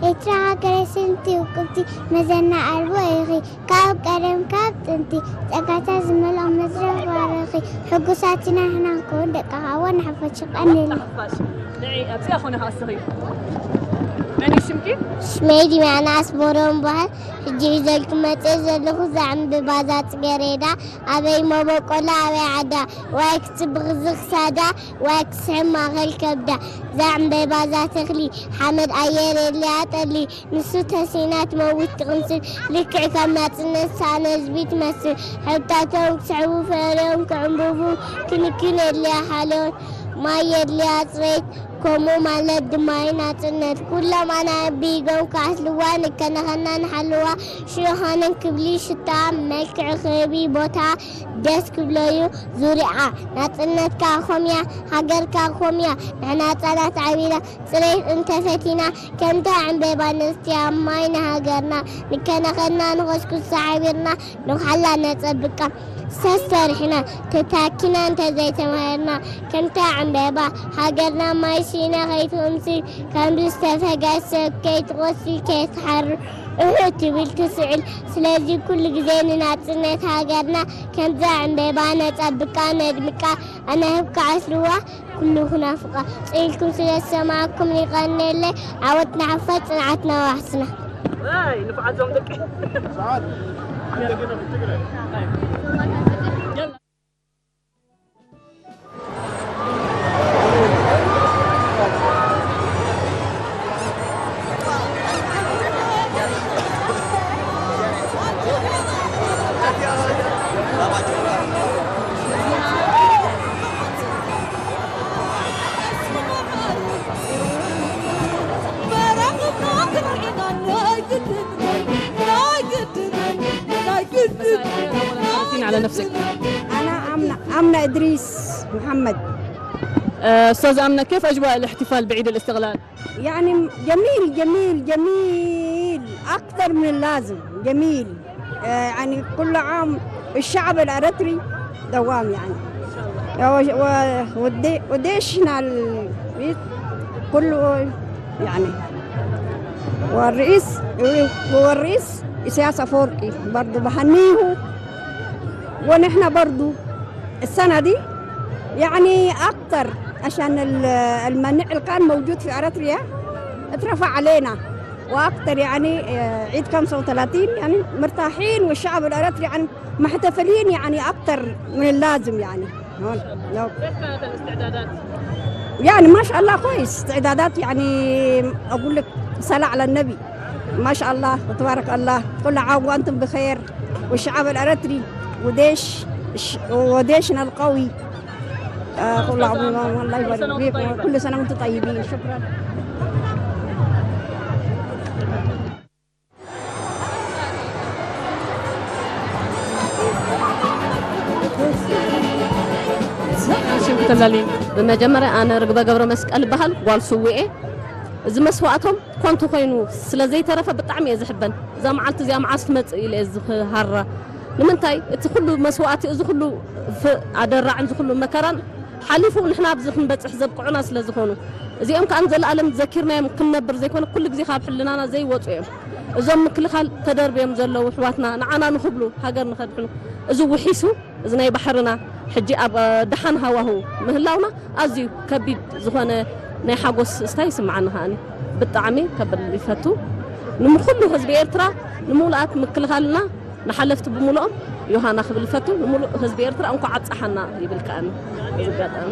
ኤርትራ ሃገረ ስንቲ ውቅብቲ መዘና ኣልቦ ኢኺ። ካብ ቀደም ካብ ጥንቲ ጸጋታት ዝመልኦ መድረኽ ባረኺ። ሕጉሳት ኢና ንሕና ንኸውን ደቅኻ እውን ንሓፋሽ ቀንል። ንዒ ኣብዚኣ ኮነ ከኣ እስኺ። መን እዩ ሽምኪ? ሽመይ ዲማና ኣስቦሮም በሃል። ሕጂ ሒዘልኩም መጽእ ዘለኹ እዛ ዕምብባ እዛ ጽጌሬዳ ኣበይ መበቆላ ኣበይ ዓዳ ዋይ ክጽብቕ ዝኽሳዳ ዋይ ክስሕብ ማእከል ከብዳ እዛ ዕምበባ እዛ ተኽሊ ሓመድ ኣየር የድልያ ጠሊ ንሱ ተሲና ትመውት ትቕንስል ልክዕ ከም ናጽነት ሳነ ህዝቢ ትመስል ሕብታቶም ክስሕቡ ፈርዮም ክዕምብቡ ክንክን የድልያ ሓልዮት ማይ የድልያ ጽሬት ከምኡ ማለት ድማ እዩ ናጽነት ኩሎም ኣናቢጎም ክኣስልዋ ንከነኸና ንሓልዋ ሽዮሃንን ክብሊ ሽታ መልክዕ ክህቢ ቦታ ደስ ክብሎ እዩ ዙርያ ናጽነትካ ኮምያ ሃገርካ ኮምያ ንሕና ህጻናት ዓቢና ጽሬት እንተፈቲና ከምታ ዕምበባ ንስትያ ማይ ንሃገርና ንከነኸና ንኸስኩስ ሓቢርና ንውሓላ ነጸብቃ ሰሰሪሕና ተታኪና እንተዘይተማሂርና ከምታ ዕምበባ ሃገርና ማይ ሲና ከይትቕምስል ከምዚ ዝተፈገሰ ከይትቆስል ከይትሓርር እሑ ትብል ትስዕል ስለዚ ኩሉ ግዜ ንናጽነት ሃገርና ከምዛ ዕምበባ ነጸብቃ ነድምቃ ኣናህብ ክዓስልዋ ኩሉ ክናፍቃ ጽኢልኩም ስለ ዝሰማዕኩም ይቐንየለይ ዓወት ንሓፋሽ ጽንዓት ናዋሕስና ንፉዓት ዞም ደቂ مساء الخير، أولاً عرفينا على نفسك. أنا آمنة، آمنة إدريس محمد. آه، أستاذ آمنة، كيف أجواء الاحتفال بعيد الاستقلال؟ يعني جميل، جميل، جميل، أكثر من اللازم، جميل. آه، يعني كل عام الشعب الأريتري دوام يعني. و-، و-، ودي-، وديشنا ال-، كله يعني. والرئيس، والرئيس إسياس أفورقي برضو بهنيه. ونحن برضو السنة دي يعني أكتر عشان ال-، المنع اللي كان موجود في أريتريا اترفع علينا. وأكتر يعني، آه، عيد خمسة وثلاثين يعني مرتاحين، والشعب الأريتري يعني محتفلين يعني أكتر من اللازم يعني. هون. لو- كيف كانت الاستعدادات؟ يعني ما شاء الله كويس، استعدادات يعني أقول لك صلاة على النبي. ما شاء الله تبارك الله، كل عام وأنتم بخير، والشعب الأريتري وديش الش- وديشنا القوي. آه، كل عام الله يبارك فيكم، كل سنة وأنتم طيبين. شكرا. ብመጀመርያ ኣነ ርግበ ገብረ መስቀል ይበሃል፣ ጓል ስውኤ። እዚ መስዋእቶም ኮንቱ ኮይኑ ስለ ዘይተረፈ ብጣዕሚ እየ ዝሕበን። እዛ መዓልቲ እዚኣ መዓስ ትመጽእ ኢለ እየ ዝሃራ። ንምንታይ እቲ ኩሉ መስዋእቲ፣ እዚ ኩሉ ኣደራዕን እዚ ኩሉ መከራን ሓሊፉ ንሕና ኣብዚ ክንበጽሕ ዘብቅዑና ስለ ዝኾኑ፣ እዚኦም ከኣ ንዘለኣለም ዘኪርናዮም ክንነብር ዘይኮነ ኩሉ ግዜ ካብ ሕልናና ዘይወጹ እዮም። እዞም ምክልኻል ተደርብዮም ዘለዉ ኣሕዋትና ንዓና ንኽብሉ ሃገር ንኸድሕኑ እዚ ውሒሱ እዚ ናይ ባሕርና ሕጂ ኣብ ደሓን ሃዋሁ ምህላውና ኣዝዩ ከቢድ ዝኾነ ናይ ሓጎስ ስታ ይስምዓኒ። ከኣኒ ብጣዕሚ ከብል ይፈቱ። ንምኩሉ ህዝቢ ኤርትራ ንምሉኣት ምክልኻልና ንሓለፍቲ ብምሉኦም ዮሃና ክብል ይፈቱ። ንምሉእ ህዝቢ ኤርትራ እንኳዕ ኣብፀሓና ይብል ከኣኒ። እዚ ኣጋጣሚ